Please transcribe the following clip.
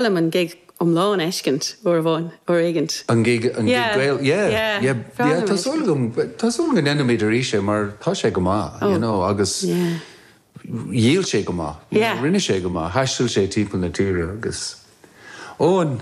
liom an gig iomlán a fheiscint uair amháin, uair éigint. An gig, an gig Yeah. Gael, yeah, Yeah. yeah, Breá yeah, liom tá é súil sin. agam, tá súil agam go ndéanfaimid arís é mar tá sé go maith, you Oh, know, agus yeah. dhíol sé go maith, you know, Yeah. rinne sé go maith, thaistil sé timpeall na tíre agus, ó an.